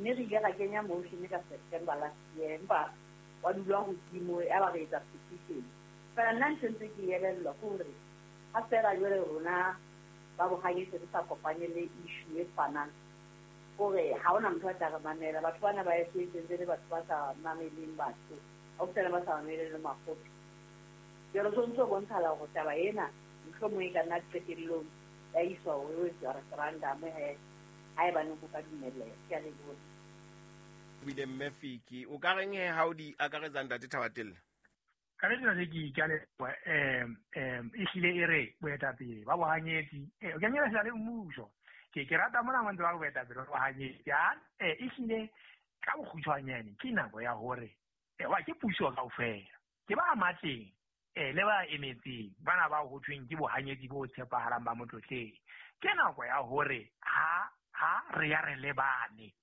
Mme re ile ra kenya motion ka September last year, empa wa dula hodimo ya ba re etsa petition. Fela nna ntho ntse ke elellwa ke hore ha fela jwale rona ba bohanyetsi re sa kopane le issue e tshwanang, kore ha hona motho a tla re mamela. Batho bana ba eso e sentse le batho ba sa mameleng batho, haufinyana ba sa mameleng le makgotla. Jwale so ntso bontshala hore taba ena mohlomong e ka nna qetellong ya iswa hore o etswa referendum he haebaneng ho ka dumelleha. Ke a leboha. Bile mme Fiki, o ka reng he ha o di akaretsa ntate Thabatella? Ka le tsena ke ke a leboha. Ehlile e re boetapele ba bohanyetsi, o kenyelletsa le mmuso. Ke rata mona ntse ba re boetapele ba bohanyetsi. Ehlile ka bokgutshwanyane ke nako ya hore wa ke puso kaofela. Ke ba matleng le ba emetseng bana ba ho thweng ke bohanyetsi bo tshepahalang ba motlotleng. Ke nako ya hore ha re ya re lebane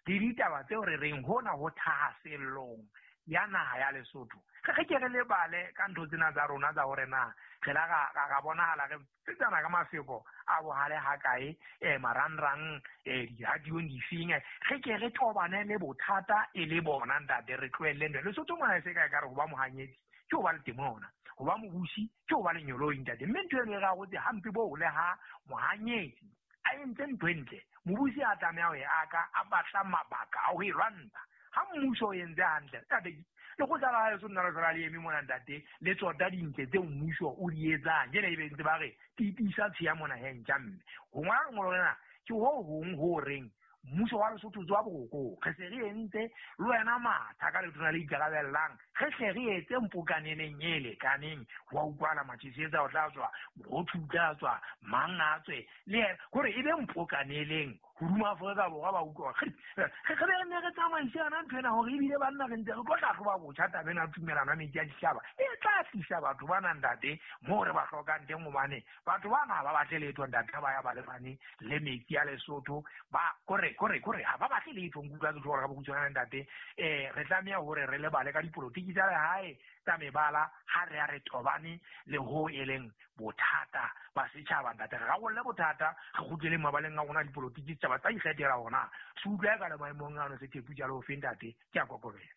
le ditaba tseo re reng hona ho thahasellong ya naha ya Lesotho. Re ke re lebale ka ntho tsena tsa rona tsa hore na re la ra bonahala re tsetsana ka mafeko a bohale hakae, marangrang, diradiong difeng. Re ke re tobane le bothata e le bona ntate, re tlohelle ntho. Lesotho mona e se ka ekare ho ba mohanyetsi ke ho ba le temona, ho ba mobusi ke ho ba lenyoloi ntate. Mme ntho eno e re arotse hampe boo le ha mohanyetsi a entse ntho e ntle, mobusi a tlameha ho e aka, a batla mabaka a ho e lwantsha. Ha mmuso o entse hantle, ntate, lekgotla la haeso nna le hlola le eme mona ntate, le tsota dintle tseo mmuso o di etsang. Jwale ebe ntse ba re tiisa tshiya mona he ntja mme. Ho ngola lengolo lena ke ho hong ho reng mmuso wa Lesotho tswa borokong. Re se re entse le wena matha ka letona le ikarabellang, re hle re etse mpokaneleng e lekaneng. Wa utlwala Matšesetsa o tla tswa, Mokgothu o tla tswa, mang a tswe le yena, hore e be mpokaneleng hodima Afrika Borwa ba utlwa hore re be re ne re tsamaise yona ntho ena, hore ebile banna re ntse re tlo hlahloba botjha taba ena ya tumelano ya metsi a ditjhaba e tla tlisa batho bana ntate moo re ba hlokang teng, hobane batho bana ha ba batle letho ntate, ha ba ya ba lebane le metsi a Lesotho, ba kore kore kore ha ba batle letho. Nkutlwa ke tlo ka bokgutshwane ntate, re tlameha hore re lebale ka dipolotiki tsa lehae tsa mebala ha re ya re tobane le ho e leng bothata ba setjhaba ntate. Re rarolle bothata, re kgutlele mabaleng a rona dipolotiki, setjhaba tsa ikgethela hona se utlwa e ka le maemong ano se thepu jalo ofe ntate. Ke a kokobela.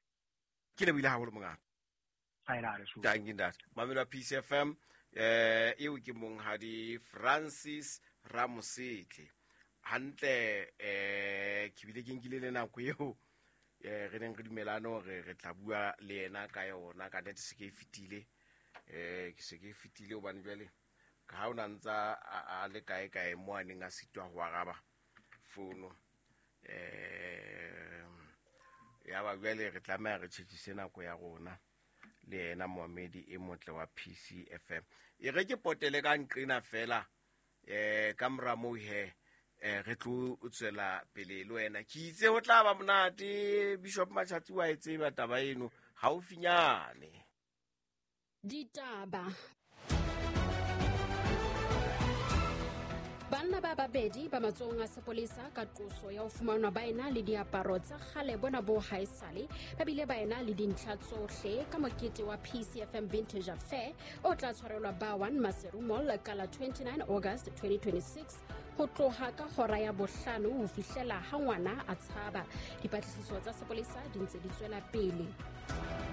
Ke lebohile haholo mongaka. Thank you ntate. Mamelo wa Peace FM, eo ke monghadi Francis Ramosetle. Hantle, ke bile ke nkile le nako eo re neng re dumelane hore re tla bua le yena ka yona. Ka nnete se ke e fetile, ke se ke e fetile hobane jwale ka ha o na ntsa a le kae kae mo a neng a sitwa ho araba fono, ya ba jwale re tlameha re tjhetjhise nako ya rona le yena moamedi e motle wa PCFM. E re ke potele ka nqena fela, ka mora moo he, re tlo tswela pele le wena. Ke itse ho tla ba monate, Bishop Machatsi wa e tseba taba eno haufinyane. Ditaba. Banna ba babedi ba matsohong a sepolesa ka qoso ya ho fumanwa ba ena le diaparo tsa kgale bona bo haesale, ba bile ba ena le dintlha tsohle ka mokete wa PCFM Vintage Affair o tla tshwarelwa ba 1 Maseru Mall ka la 29 August 2026 ho tloha ka hora ya bohlano ho fihlela ha ngwana a tshaba. Dipatlisiso tsa sepolesa di ntse di tswela pele.